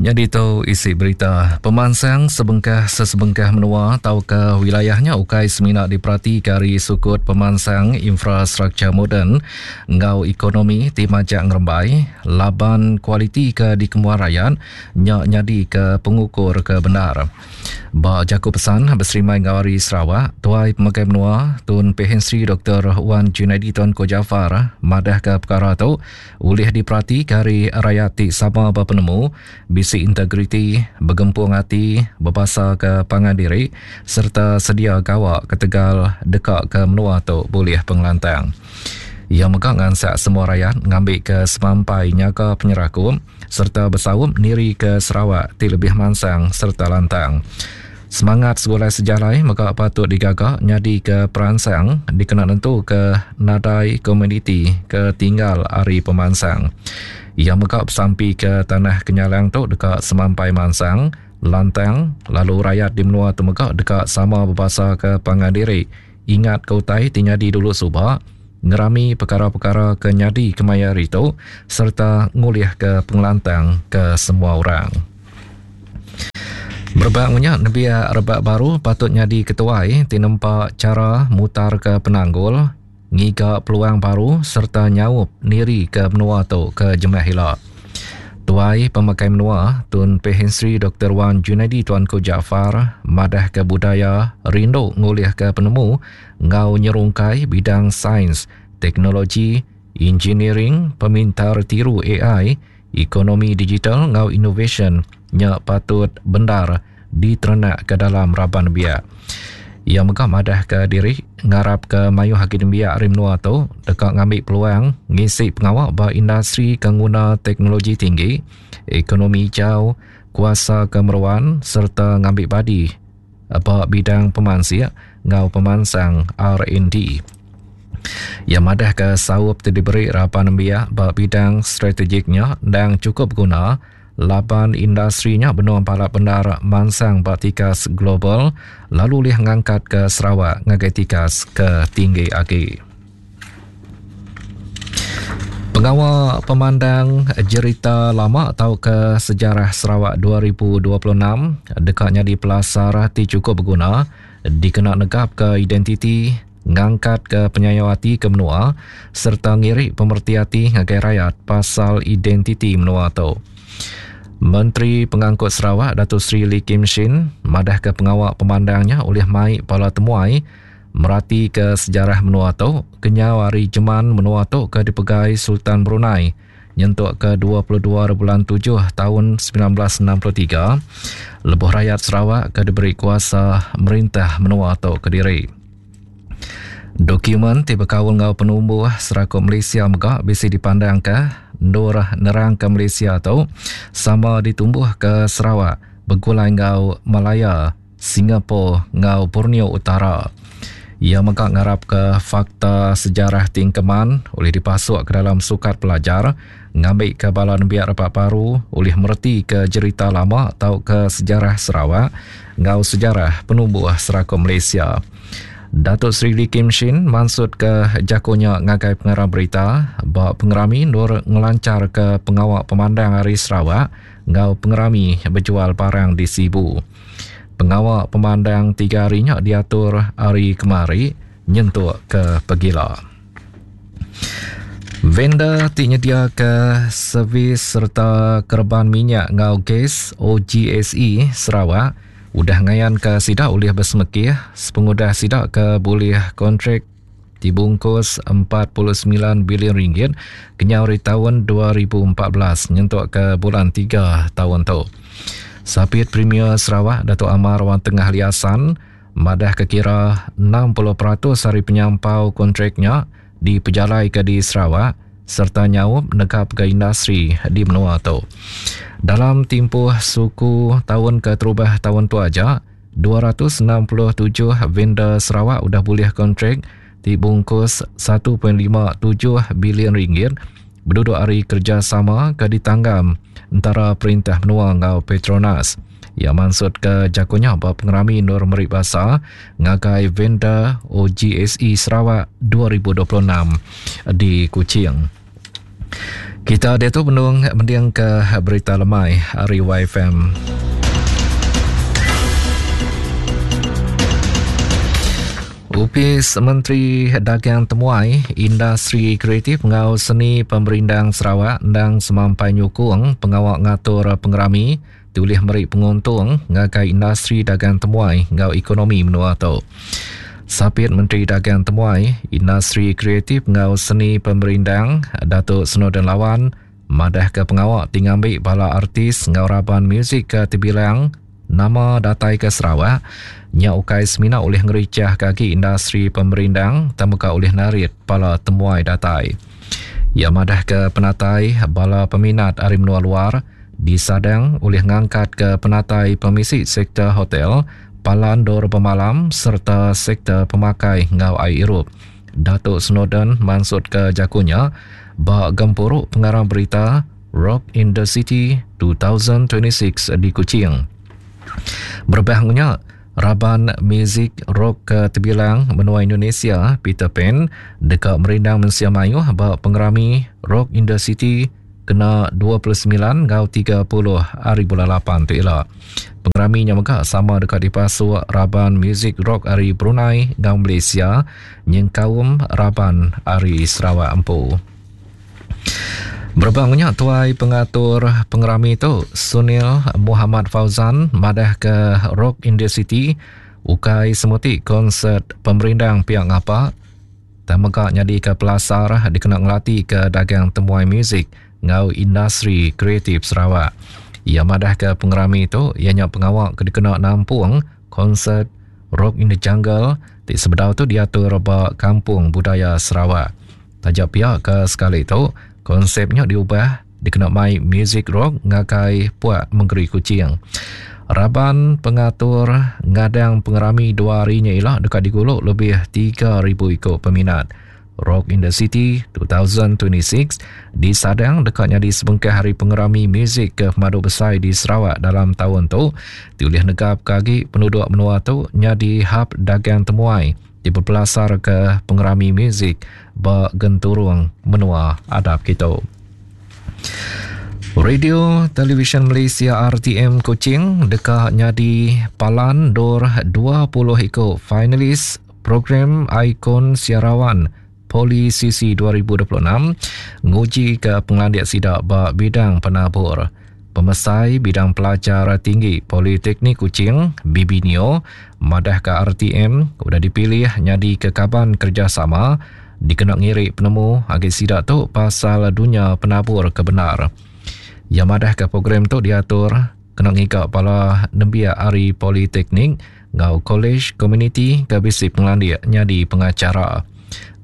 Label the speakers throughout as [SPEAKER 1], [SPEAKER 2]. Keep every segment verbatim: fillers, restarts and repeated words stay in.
[SPEAKER 1] Nyadi tu isi berita. Pemansang sebengkah sesebengkah menua tauka wilayah nya ukai semina diperatika ari sukut pemansang infrastruktur moden enggau ekonomi ti majak ngerembai laban kualiti ke dikembuan rayat nya nyadika pengukur ke bendar. Ba jaku pesan beserimbai enggau Hari Sarawak, Tuai Pemegai Menua Tun Pehin Sri Doktor Wan Junaidi Tuanku Jaafar madahka pekara tu ulih diperatika ari rayat ti sama bepenemu, bisi integriti, begempung ati, bebasaka pangan diri sereta sedia gawa ketegal deka ke menua tu bulih pengelantang. Iya mega ngansak semua rayat ngambika semampai nyaga penyerakup sereta besaup nirika Sarawak ti lebih mansang sereta lantang. Semangat segulai sejalai mega patut digaga nyadika peransang dikena nentuka nadai komuniti ke tinggal ari pemansang. Iya mega besampika Tanah Kenyalang tu deka semampai mansang, lantang lalu rayat di menua tu mega deka sama bebasaka pangan diri, ingatka utai ti nyadi dulu suba, ngerami pekara-pekara ke nyadi kemaya hari tu sereta ngulihka pengelantang ke semua orang. Berebak nya, nembiak rebak baru patut nyadi ketuai ti nempa chara mutarka penanggul, ngiga peluang baru sereta nyaup nirika menua tu ke jemah ila. Tuai Pemakai Menua Tun Pehin Sri Doktor Wan Junaidi Tuanku Jaafar madahka budaya rindu ngulihka penemu enggau nyerungkai bidang sains, teknologi, engineering, pemintar tiru A I, ekonomi digital enggau inovasyen nya patut bendar diterenakka dalam raban nembiak. Iya mega madahka diri ngarapka mayuh agi nembiak ari menua tu deka ngambi peluang ngisi pengawa ba industri ke nguna teknologi tinggi, ekonomi hijau, kuasa ke meruan sereta ngambi badi ba bidang pemansik enggau pemansang R and D. Iya madahka saup ti diberi raban nembiak ba bidang strategik nya endang chukup beguna laban industri nya benung pala bendar mansang ba tikas global lalu ulih ngangkatka Sarawak ngagai tikas ke tinggi agi. Pengawa pemandang jerita lama tauka sejarah Sarawak dua ribu dua puluh enam deka nyadi pelasar ti chukup beguna dikena negapka identiti, ngangkatka penyayau ati ke menua sereta ngiri pemereti ati ngagai rayat pasal identiti menua tu. Menteri Pengangkut Sarawak Datuk Seri Lee Kim Shin madahka pengawa pemandang nya ulih mai bala temuai meratika sejarah menua tu kenyau ari jeman menua tu ke dipegai Sultan Brunei nyentuk ke dua puluh dua bulan tujuh tahun sembilan belas enam puluh tiga lebuh rakyat Sarawak ke diberi kuasa merintah menua tu kediri. Dokumen ti bekaul enggau penumbuh Serakup Malaysia mega bisi dipandangka endur nerangka Malaysia tu sama ditumbuhka Sarawak begulai enggau Malaya, Singapura enggau Borneo Utara. Iya mega ngarapka fakta sejarah ti engkeman ulih dipasuk ke dalam sukat pelajar ngambika bala nembiak rebak baru ulih meretika jerita lama tauka sejarah Sarawak enggau sejarah penumbuh Serakup Malaysia. Datuk Seri Lee Kim Shin mansutka jakunya ngagai pengarang berita ba pengerami endur ngelancharka pengawa pemandang Hari Sarawak enggau pengerami bejual barang di Sibu. Pengawa pemandang tiga hari nya diatur hari kemari nyentuk ke pegila. Vendor ti nyediaka servis sereta kereban minyak enggau gas O G S E Sarawak udah ngayanka sida ulih bersemekih sepengudah sida ke bulih kontrak dibungkus empat puluh sembilan bilion ringgit kenyau ari tahun dua ribu empat belas nyentuk ke bulan tiga tahun tu. Sapit Premier Sarawak Datuk Amar Wan Tengah Ali Hasan madah ke kira enam puluh peratus ari penyampau kontraknya dipejalaika di Sarawak serta nyaup negapka industri di menua tu. Dalam tempoh suku tahun keterubah tahun tu aja, dua ratus enam puluh tujuh vendor Sarawak udah bulih kontrak ti bungkus satu perpuluhan lima tujuh bilion ringgit berduduk hari kerjasama ke ditanggam antara perintah menua enggau Petronas. Ia maksud ke jakunya ba pengerami Nur Meri Basa ngagai vendor O G S E Sarawak dua ribu dua puluh enam di Kuching. Kita diatu benung mending ke berita lemai ari Y F M. Upis Menteri Dagang Temuai, Industri Kreatif enggau Seni Pemerindang Sarawak endang semampai nyukung pengawa ngatur pengerami tulih meri penguntung ngagai industri dagang temuai enggau ekonomi menua tu. Sapit Menteri Dagang Temuai, Industri Kreatif enggau Seni Pemerindang, Datuk Snowdan Lawan, madah ke pengawa ti ngambi bala artis enggau raban muzik ke terbilang nama datai ke Sarawak, nya ukai semina oleh ngericah kaki industri pemerindang, temuka oleh narit pala temuai datai. Ia madah ke penatai bala peminat ari menua luar disadang oleh ngangkat ke penatai pemisi sektor hotel, palan dor pemalam serta sektor pemakai ngau air irup. Datuk Snowdan mansut ke jakunya ba gempuru pengarang berita Rock in the City dua ribu dua puluh enam di Kuching. Berbahangnya, raban muzik rock ke terbilang menua Indonesia Peter Pan dekat merindang mensia mayuh ba pengerami Rock in the City kena dua puluh sembilan ngau tiga puluh hari bulan lapan tu ila. Pengeraminya mega sama dekat dipasuk raban muzik rock ari Brunei ngau Malaysia nyengkaum raban ari Sarawak empu. Berbangnya tuai pengatur pengerami tu Sunil Muhammad Fauzan madah ke Rock in the City ukai semuti konsert pemerindang pihak ngapa tak mega nyadi ke pelasar dikena ngelati ke dagang temuai muzik ngau industri kreatif Sarawak. Ia madah ke pengerami tu ianya pengawak ke dikena nampung konsert Rock in the Jungle ti sebedau tu diatur ba Kampung Budaya Sarawak. Tajak pihak ke sekali tu konsepnya diubah dikena mai music rock ngagai puak Mengeri Kuching. Raban pengatur ngadang pengerami dua harinya ialah dekat diguluk lebih tiga ribu ikut peminat. Rock in the City dua ribu dua puluh enam disadang dekatnya di sebengkah hari pengerami muzik ke pemadu besar di Sarawak dalam tahun tu. Diulih negap kagi penduduk menua tu nyadi hub dagang temuai diperpelasar ke pengerami muzik ba genturung menua adap kita. Radio Television Malaysia R T M Kuching dekat nyadi palan dor dua puluh ikut finalis program Ikon Siarawan Poli C C dua ribu dua puluh enam nguji ke pengelandik sidak ba bidang penabur. Pemesai bidang pelajar tinggi Politeknik Kuching B B Neo madah ke R T M udah dipilih nyadi ke kaban kerjasama dikena ngiri penemu agi sidak tu pasal dunia penabur kebenar. Yang madah ke program tu diatur kena ngigak bala nembiak ari Politeknik ngau College Community ke bisi pengelandik nyadi pengacara.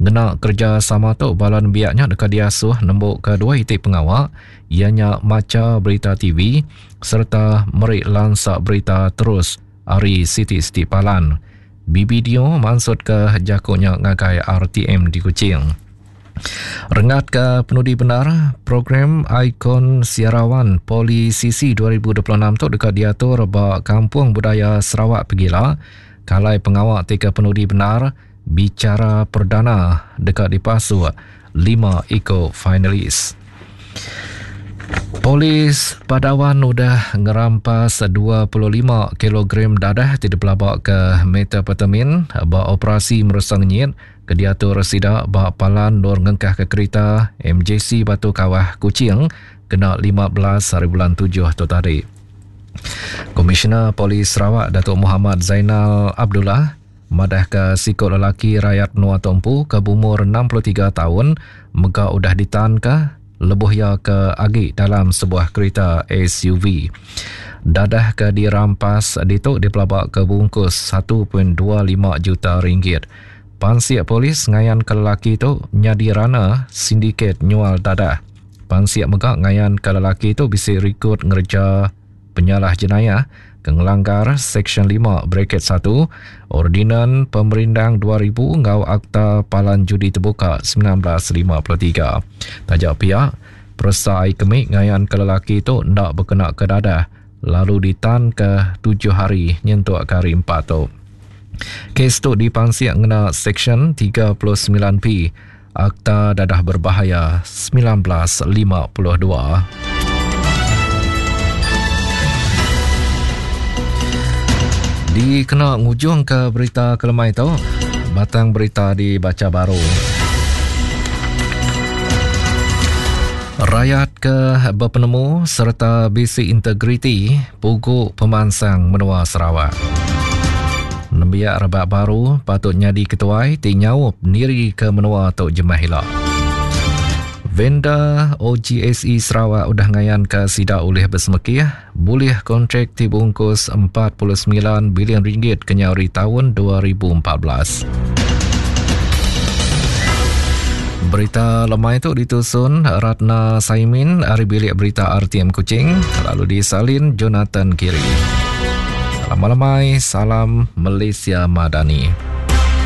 [SPEAKER 1] Ngena kerja sama tu bala nembiaknya dekat diasuh nembuk ke dua itik pengawak ianya maca berita T V serta merik lansak berita terus ari siti-siti palan. B B Dio mansut ke jakunya ngagai R T M di Kuching. Rengat ke penudi benar, program Ikon Siarawan Poli C C dua ribu dua puluh enam tu dekat diatur ba Kampung Budaya Sarawak Pegila. Kalai pengawak tiga penudi benar bicara perdana dekat dipasuk lima iko finalis. Polis Padawan udah ngerampas dua puluh lima kilogram dadah tidak pelabak ke metapetamin ba operasi meresang nyit ke diatur sidak ba palan nur ngengkah ke kereta M J C Batu Kawah Kuching kena lima belas hari bulan tujuh tu tadi. Komisioner Polis Sarawak Datuk Muhammad Zainal Abdullah madah ke sikut lelaki rakyat Menua Tompu ke umur enam puluh tiga tahun mega udah ditan ke lebuh ia ke agi dalam sebuah kereta S U V. Dadah ke dirampas ditu dipelabak ke bungkus satu perpuluhan dua lima juta ringgit. Pansiak polis ngayan ke lelaki tu nyadi rana sindiket nyual dadah. Pansiak mega ngayan ke lelaki tu bisi rekod ngerja penyalah jenayah ke ngelanggar Seksyen lima bracket satu Ordinan Pemerindang dua ribu ngau Akta Palan Judi Terbuka sembilan belas lima puluh tiga. Tajak pihak peresa air kemik ngayan ke lelaki tu ndak berkena ke dadah lalu ditan ke tujuh hari nyentuk ke hari empat tu. Kes tu dipansiak ngena Seksyen tiga puluh sembilan P Akta Dadah Berbahaya semilan belas lima puluh dua. Dikena ngujung ke berita kelemai tu, batang berita dibaca baru. Rakyat ke berpenemu serta bisi integriti pugu pemansang menua Sarawak. Nembiak rebak baru patut nyadi ketuai ti nyaup niri ke menua tu jemah ila. Vendor O G S E Sarawak udah ngayan ke sida ulih bersemekih bulih kontrak ti bungkus empat puluh semilan bilion ringgit kenyau ari tahun dua ribu empat belas. Berita lemai tu ditusun Ratna Saimin ari bilik berita R T M Kuching, lalu disalin Jonathan Kiri. Salam lemai, salam Malaysia Madani.